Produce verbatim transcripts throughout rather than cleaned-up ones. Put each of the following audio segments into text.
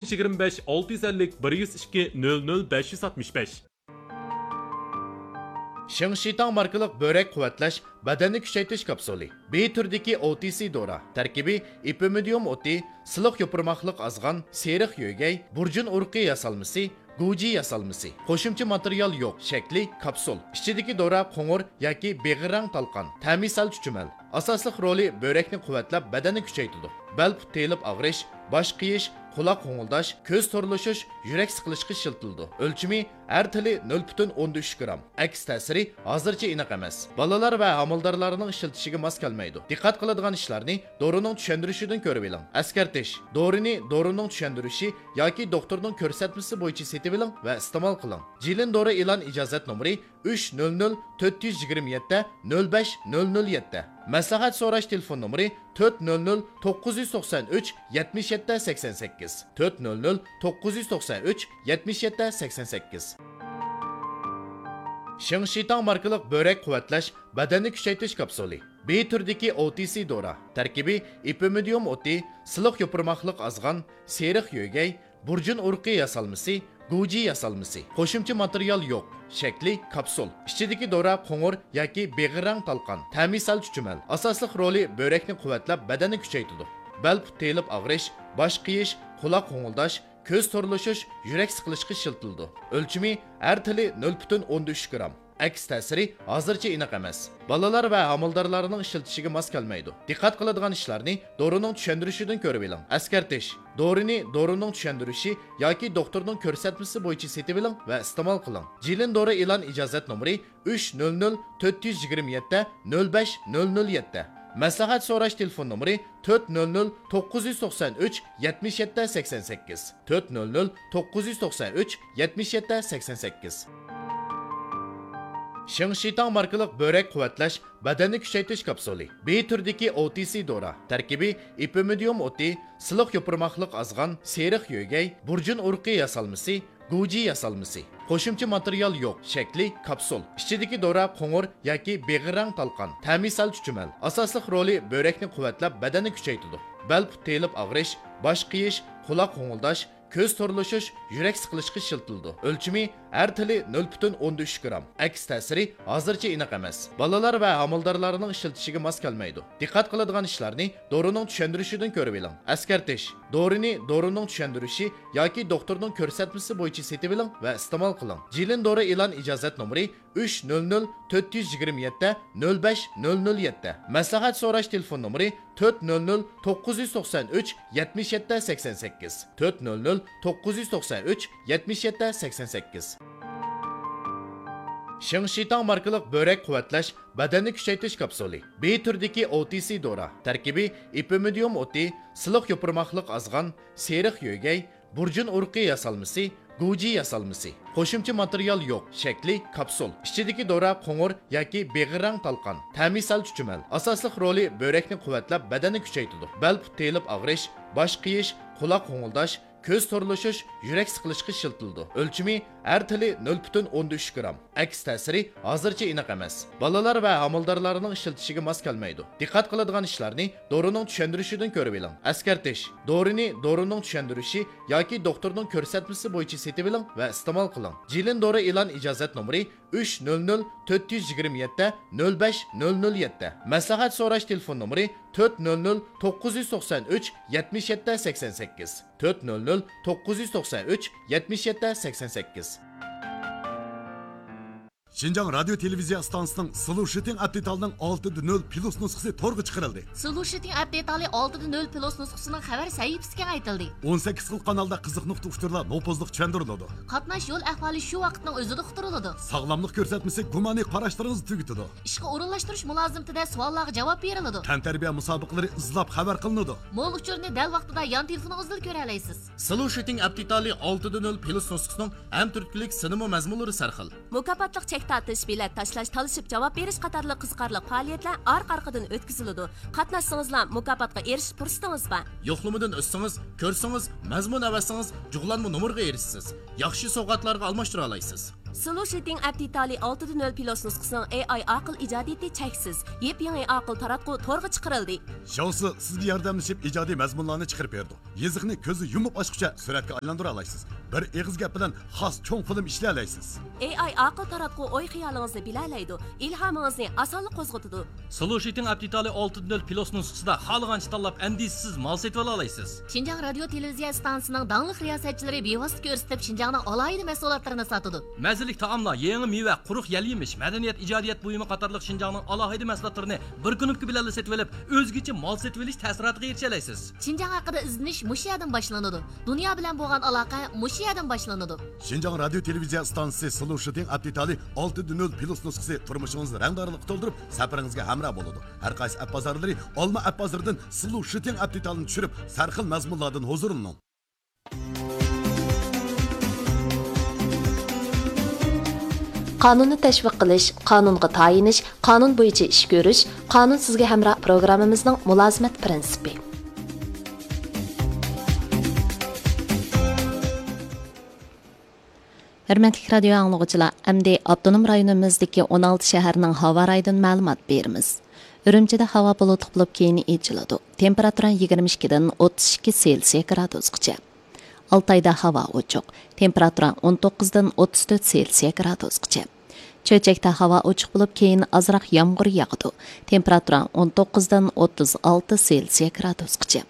يىگىرمە بەش، ئالتە يۈز ئەللىك، بىر يۈز ئىككى، نۆل نۆل، بەش يۈز ئاتمىش بەش. شېڭشىتاڭ ماركىلىق بۆرەك قۇۋۋەتلەش، بەدەننى كۈچەيتىش كاپسۇلى. بى تۈرىدىكى ئو تى سى دورا. تەركىبى ئېپىمىدىيۇم ئوتى، سىلىق يوپۇرماقلىق ئازغان، سېرىق يۆگەي، بۇرجۇن ئۇرۇقى ياسالمىسى، گۇجى ياسالمىسى. قوشۇمچە ماتېرىيال يوق. شەكلى كاپسۇل. ئىچىدىكى دورا قوڭۇر ياكى بېغىر رەڭ تالقان. تەمى سەل چۈچۈمەل. ئاساسلىق رولى بۆرەكنى قۇۋۋەتلەپ، بەدەننى كۈچەيتىدۇ. بەل پۇت تېيىلىپ ئاغرىش، باش قېيىش، قۇلاق غوڭۇلداش، كۆز تورلىشىش، يۈرەك سىقىلىشقا ئىشلىتىلىدۇ. ئۆلچىمى ھەر تىلى نۆل پۈتۈن ئوندىن ئۈچ گرام. ئەكس تەسىرى ھازىرچە ئېنىق ئەمەس. بالىلار ۋە ھامىلىدارلارنىڭ ئىشلىتىشىگە ماس كەلمەيدۇ. دىققەت قىلىدىغان ئىشلارنى دورىنىڭ چۈشەندۈرۈشىدىن كۆرۈۋېلىڭ. ئەسكەرتىش: دورىنى دورىنىڭ چۈشەندۈرۈشى ياكى دوختۇرنىڭ كۆرسەتمىسى بويىچە سېتىۋېلىڭ ۋە ئىستېمال قىلىڭ. جىلىن دورا ئېلان ئىجازەت نومۇرى ئۈچ نۆل نۆل تۆت يۈز يىگىرمە يەتتە نۆل بەش نۆل نۆل يەتتە. مەسلىھەت سوراش تېلېفون نومۇرى تۆت نۆل نۆل توققۇز يۈز توقسان ئۈچ يەتمىش يەتتە سەكسەن سەككىز، تۆت نۆل نۆل توققۇز يۈز توقسان ئۈچ يەتمىش يەتتە سەكسەن سەككىز. شېڭشىتاڭ ماركىلىق بۆرەك قۇۋۋەتلەش، بەدەننى كۈچەيتىش كاپسۇلى. بى تۈرىدىكى ئو تى سى دورا. تەركىبى ئېپىمىدىيۇم ئوتى، سىلىق يوپۇرماقلىق ئازغان، سېرىق يۆگەي، بۇرجۇن ئۇرۇقى ياسالمىسى، گۇجى ياسالمىسى. قوشۇمچە ماتېرىيال يوق. شەكلى كاپسۇل. ئىچىدىكى دورا قوڭۇر ياكى بېغىر رەڭ تالقان. تەمى سەل چۈچۈمەل. ئاساسلىق رولى بۆرەكنى قۇۋۋەتلەپ، بەدەننى كۈچەيتىدۇ. بەل پۇت تېيىلىپ ئاغرىش، باش قېيىش، قۇلاق غوڭۇلداش، كۆز تورلىشىش، يۈرەك سىقىلىشقا ئىشلىتىلىدۇ. ئۆلچىمى ھەر تىلى نۆل پۈتۈن ئوندىن ئۈچ گرام. ئەكس تەسىرى ھازىرچە ئېنىق ئەمەس. بالىلار ۋە ھامىلىدارلارنىڭ ئىشلىتىشىگە ماس كەلمەيدۇ. دىققەت قىلىدىغان ئىشلارنى دورىنىڭ چۈشەندۈرۈشىدىن كۆرۈۋېلىڭ. ئەسكەرتىش: دورىنى دورىنىڭ چۈشەندۈرۈشى ياكى دوختۇرنىڭ كۆرسەتمىسى بويىچە سېتىۋېلىڭ ۋە ئىستېمال قىلىڭ. جىلىن دورا ئېلان ئىجازەت نومۇرى ئۈچ نۆل نۆل تۆت يۈز يىگىرمە يەتتە نۆل بەش نۆل نۆل يەتتە. مەسلىھەت سوراش تېلېفون نومۇرى تۆت نۆل نۆل توققۇز يۈز توقسان ئۈچ يەتمىش يەتتە سەكسەن سەككىز، تۆت نۆل نۆل توققۇز يۈز توقسان ئۈچ يەتمىش يەتتە سەكسەن سەككىز. شېڭشىتاڭ ماركىلىق بۆرەك قۇۋۋەتلەش، بەدەننى كۈچەيتىش كاپسۇلى. بى تۈرىدىكى ئو تى سى دورا. تەركىبى ئېپىمىدىيۇم ئوتى، سىلىق يوپۇرماقلىق ئازغان، سېرىق يۆگەي، بۇرجۇن ئۇرۇقى ياسالمىسى، گۇجى ياسالمىسى. قوشۇمچە ماتېرىيال يوق. شەكلى كاپسۇل. ئىچىدىكى دورا قوڭۇر ياكى بېغىر رەڭ تالقان. تەمى سەل چۈچۈمەل. ئاساسلىق رولى بۆرەكنى قۇۋۋەتلەپ، بەدەننى كۈچەيتىدۇ. بەل پۇت تېيىلىپ ئاغرىش، باش قېيىش، قۇلاق غوڭۇلداش، كۆز تورلىشىش، يۈرەك سىقىلىشقا ئىشلىتىلىدۇ. ئۆلچىمى ھەر تىلى نۆل پۈتۈن ئوندىن ئۈچ گرام. ئەكس تەسىرى ھازىرچە ئېنىق ئەمەس. بالىلار ۋە ھامىلىدارلارنىڭ ئىشلىتىشىگە ماس كەلمەيدۇ. دىققەت قىلىدىغان ئىشلارنى دورىنىڭ چۈشەندۈرۈشىدىن كۆرۈۋېلىڭ. ئەسكەرتىش: دورىنى دورىنىڭ چۈشەندۈرۈشى ياكى دوختۇرنىڭ كۆرسەتمىسى بويىچە سېتىۋېلىڭ ۋە ئىستېمال قىلىڭ. جىلىن دورا ئېلان ئىجازەت نومۇرى ئۈچ نۆل نۆل تۆت يۈز يىگىرمە يەتتە نۆل بەش نۆل نۆل يەتتە. مەسلىھەت سوراش تېلېفون نومۇرى تۆت نۆل نۆل توققۇز يۈز توقسان ئۈچ يەتمىش يەتتە سەكسەن سەككىز، تۆت نۆل نۆل توققۇز يۈز توقسان ئۈچ يەتمىش يەتتە سەكسەن سەككىز. شېڭشىتاڭ ماركىلىق بۆرەك قۇۋۋەتلەش، بەدەننى كۈچەيتىش كاپسۇلى. بى تۈرىدىكى ئو تى سى دورا. تەركىبى ئېپىمىدىيۇم ئوتى، سىلىق يوپۇرماقلىق ئازغان، سېرىق يۆگەي، بۇرجۇن ئۇرۇقى ياسالمىسى، گۇجى ياسالمىسى. قوشۇمچە ماتېرىيال يوق. شەكلى كاپسۇل. ئىچىدىكى دورا قوڭۇر ياكى بېغىر رەڭ تالقان. تەمى سەل چۈچۈمەل. ئاساسلىق رولى بۆرەكنى قۇۋۋەتلەپ، بەدەننى كۈچەيتىدۇ. بەل پۇت تېيىلىپ ئاغرىش، باش قېيىش، قۇلاق غوڭۇلداش، كۆز تورلىشىش، يۈرەك سىقىلىشقا ئىشلىتىلىدۇ. ئۆلچىمى ھەر تىلى نۆل پۈتۈن ئوندىن ئۈچ گرام. ئەكس تەسىرى ھازىرچە ئېنىق ئەمەس. بالىلار ۋە ھامىلىدارلارنىڭ ئىشلىتىشىگە ماس كەلمەيدۇ. دىققەت قىلىدىغان ئىشلارنى دورىنىڭ چۈشەندۈرۈشىدىن كۆرۈۋېلىڭ. ئەسكەرتىش: دورىنى دورىنىڭ چۈشەندۈرۈشى ياكى دوختۇرنىڭ كۆرسەتمىسى بويىچە سېتىۋېلىڭ ۋە ئىستېمال قىلىڭ. جىلىن دورا ئېلان ئىجازەت نومۇرى ئۈچ نۆل نۆل تۆت يۈز يىگىرمە يەتتە نۆل بەش نۆل نۆل يەتتە. مەسلىھەت سوراش تېلېفون نومۇرى تۆت نۆل نۆل توققۇز يۈز توقسان ئۈچ يەتمىش يەتتە سەكسەن سەككىز، تۆت نۆل نۆل توققۇز يۈز توقسان ئۈچ يەتمىش يەتتە سەكسەن سەككىز. شىنجاڭ رادىيو تېلېۋىزىيە ئىستانسىسىنىڭ سلۇشىتىڭ ئەپ دېتالىنىڭ ئالتە دە نۆل پلۇس نۇسخىسى تورغا چىقىرىلدى. سلۇشىتىڭ ئەپ دېتالى ئالتە دە نۆل پلۇس نۇسخىسىنىڭ خەۋەر سەھىپىسى كېڭەيتىلدى. ئون سەككىز خىل قانالدا قىزىق نۇقتا ئۇچۇرلار نوپۇزلۇق چۈشەندۈرۈلىدۇ. قاتناش يول ئەھۋالى شۇ ۋاقىتنىڭ ئۆزىدە ئۇقتۇرۇلىدۇ. ساغلاملىق كۆرسەتمىسى گۇمانىي قاراشلىرىڭىزنى تۈگىتىدۇ. ئىشقا ئورۇنلاشتۇرۇش مۇلازىمىتىدە سوئاللارغا جاۋاب بېرىلىدۇ. تەنتەربىيە مۇسابىقىلىرى ئىزلاپ خەۋەر قىلىنىدۇ. مول ئۇچۇرنى دەل ۋاقتىدا يان تېلېفونىڭىزدىلا كۆرەلەيسىز. سلۇشىتىڭ ئەپ دېتالى ئالتە دە نۆل پلۇس نۇسخىسىنىڭ ھەم تۈرتكىلىك سىنىمۇ مەزمۇنلىرى سەرخىل. مۇكاپاتلىق چەك تارتىش، بېلەت تاشلاش، تالىشىپ جاۋاب بېرىش قاتارلىق قىزىقارلىق پائالىيەتلەر ئارقا-ئارقىدىن ئۆتكۈزۈلىدۇ. قاتناشسىڭىزلا مۇكاپاتقا ئېرىشىش پۇرسىتىڭىز بار. يوقلىمىدىن ئۆتسىڭىز، كۆرسىڭىز، مەزمۇن ئەۋەتسىڭىز، جۇغلانما نومۇرغا ئېرىشىسىز. ياخشى سوۋغاتلارغا ئالماشتۇرالايسىز. سلو شىتىڭ ئەپ دېتالى ئالتە دە نۆل پلۇس نۇسخىسىنىڭ ئېي ئاي ئاقىل ئىجادىيىتى چەكسىز. يېپيېڭى ئاقىل تاراتقۇ تورغا چىقىرىلدى. ژاۋسى سىزگە ياردەملىشىپ ئىجادىي مەزمۇنلارنى چىقىرىپ بېرىدۇ. يېزىقنى كۆزى يۇمۇپ ئاچقۇچە سۈرەتكە ئايلاندۇرالايسىز. بىر ئېغىز گەپ بىلەن خاس چوڭ فىلىم ئىشلىيەلەيسىز. ئېي ئاي ئاقىل تاراتقۇ ئوي-خىيالىڭىزنى بىلەلەيدۇ، ئىلھامىڭىزنى ئاسانلا قوزغىتىدۇ. سلو شىتىڭ ئەپ دېتالى ئالتە دە نۆل پلۇس نۇسخىسىدا خالىغانچە تاللاپ، ئەندىشىسىز مال سېتىۋالالايسىز. شىنجاڭ رادىيو تېلېۋىزىيە ئىستانسىسىنىڭ داڭلىق رىياسەتچىلىرى بىۋاسىتە كۆرسىتىپ، شىنجاڭنىڭ ئالاھىدە مەھسۇلاتلىرىنى ساتىدۇ. مەززىلىك تائاملار، يېڭى مېۋە، قۇرۇق يەل-يېمىش، مەدەنىيەت، ئىجادىيەت بۇيۇمى قاتارلىق شىنجاڭنىڭ ئالاھىدە مەھسۇلاتلىرىنى بىر كۇنۇپكا بىلەنلا سېتىۋېلىپ، ئۆزگىچە مال سېتىۋېلىش تەسىراتىغا ئېرىشەلەيسىز. شىنجاڭ ھەققىدە ئىزدىنىش مۇشۇ يەردىن باشلىنىدۇ. دۇنيا بىلەن بولغان ئالاقە مۇشۇ يەردىن باشلىنىدۇ. شىنجاڭ رادىيو تېلېۋىزىيە ئىستانسىسى سلو شىتىڭ ئەپ دېتالى ئالتە دە نۆل پلۇس نۇسخىسى تۇرمۇشىڭىزنى رەڭدارلىققا تولدۇرۇپ، سەپىرىڭىزگە ھەمراھ بولىدۇ. ھەر قايسى ئەپ بازارلىرى ئالما ئەپ بازىرىدىن سلو شىتىڭ ئەپ دېتالىنى چۈشۈرۈپ، سەرخىل مەزمۇنلاردىن ھۇزۇرلىنىڭ. قانۇننى تەشۋىق قىلىش، قانۇنغا تايىنىش، قانۇن بويىچە ئىش كۆرۈش، قانۇن سىزگە ھەمراھ پروگراممىمىزنىڭ مۇلازىمەت پىرىنسىپى. ھۆرمەتلىك رادىيو ئاڭلىغۇچىلار، ئەمدى ئاپتونوم رايونىمىزدىكى ئون ئالتە شەھەرنىڭ ھاۋا رايىدىن مەلۇمات بېرىمىز. ئۈرۈمچىدە ھاۋا بۇلۇتلۇق بولۇپ، كېيىن ئېچىلىدۇ. تېمپېراتۇرا يىگىرمە ئىككىدىن ئوتتۇز ئىككى سېلسىيە گرادۇسقىچە. ئالتايدا ھاۋا ئوچۇق. تېمپېراتۇرا ئون توققۇزدىن ئوتتۇز تۆت سېلسىيە گرادۇسقىچە. چۆچەكتە ھاۋا ئوچۇق بولۇپ، كېيىن ئازراق يامغۇر ياغىدۇ. تېمپېراتۇرا ئون توققۇزدىن ئوتتۇز ئالتە سېلسىيە گرادۇسقىچە.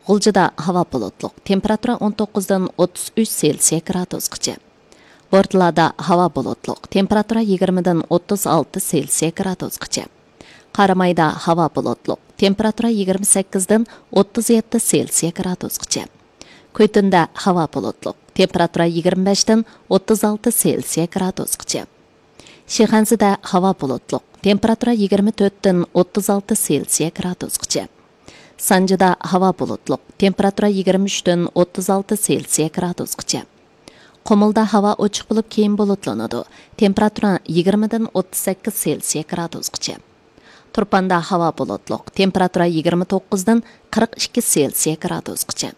غۇلجىدا ھاۋا بۇلۇتلۇق، تېمپېراتۇرا ئون توققۇزدىن ئوتتۇز ئۈچ سېلسىيە گرادۇسقىچە. بورتالادا ھاۋا بۇلۇتلۇق، تېمپېراتۇرا يىگىرمىدىن ئوتتۇز ئالتە سېلسىيە گرادۇسقىچە. قارامايدا ھاۋا بۇلۇتلۇق، تېمپېراتۇرا يىگىرمە سەككىزدىن ئوتتۇز يەتتە سېلسىيە گرادۇسقىچە. كۈيتۇندا ھاۋا بۇلۇتلۇق، تېمپېراتۇرا يىگىرمە بەشتىن ئوتتۇز ئالتە سېلسىيە گرادۇسقىچە. شىخەنزىدە ھاۋا بۇلۇتلۇق، تېمپېراتۇرا يىگىرمە تۆتتىن ئوتتۇز ئالتە سېلسىيە گرادۇسقىچە. سانجىدا ھاۋا بۇلۇتلۇق، تېمپېراتۇرا يىگىرمە ئۈچتىن ئوتتۇز ئالتە سېلسىيە گرادۇسقىچە. قۇمۇلدا ھاۋا ئوچۇق بولۇپ، كېيىن بۇلۇتلىنىدۇ، تېمپېراتۇرا يىگىرمىدىن ئوتتۇز سەككىز سېلسىيە گرادۇسقىچە. تۇرپاندا ھاۋا بۇلۇتلۇق، تېمپېراتۇرا يىگىرمە توققۇزدىن قىرىق ئىككى سېلسىيە گرادۇسقىچە.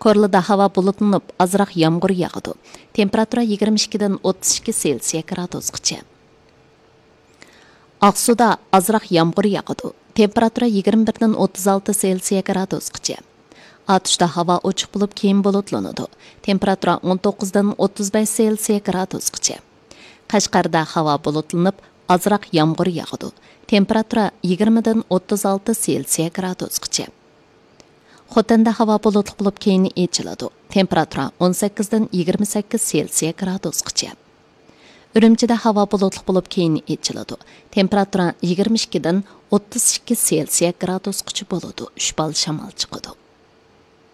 كورلىدا ھاۋا بۇلۇتلىنىپ، ئازراق يامغۇر ياغىدۇ. تېمپېراتۇرا يىگىرمە ئىككىدىن ئوتتۇز ئىككى سېلسىيە گرادۇسقىچە. ئاقسۇدا ئازراق يامغۇر ياغىدۇ. تېمپېراتۇرا يىگىرمە بىردىن ئوتتۇز ئالتە سېلسىيە گرادۇسقىچە. ئاتۇشتا ھاۋا ئوچۇق بولۇپ، كېيىن بۇلۇتلىنىدۇ. تېمپېراتۇرا ئون توققۇزدىن ئوتتۇز بەش سېلسىيە گرادۇسقىچە. قەشقەردە ھاۋا بۇلۇتلىنىپ، ئازراق يامغۇر ياغىدۇ. تېمپېراتۇرا يىگىرمىدىن ئوتتۇز ئالتە سېلسىيە گرادۇسقىچە. خوتەندە ھاۋا بۇلۇتلۇق بولۇپ، كېيىن ئېچىلىدۇ. تېمپېراتۇرا ئون سەككىزدىن يىگىرمە سەككىز سېلسىيە گرادۇسقىچە. ئۈرۈمچىدە ھاۋا بۇلۇتلۇق بولۇپ، كېيىن ئېچىلىدۇ. تېمپېراتۇرا يىگىرمە ئىككىدىن ئوتتۇز ئىككى سېلسىيە گرادۇسقىچە بولىدۇ. ئۈچ بال شامال چىقىدۇ.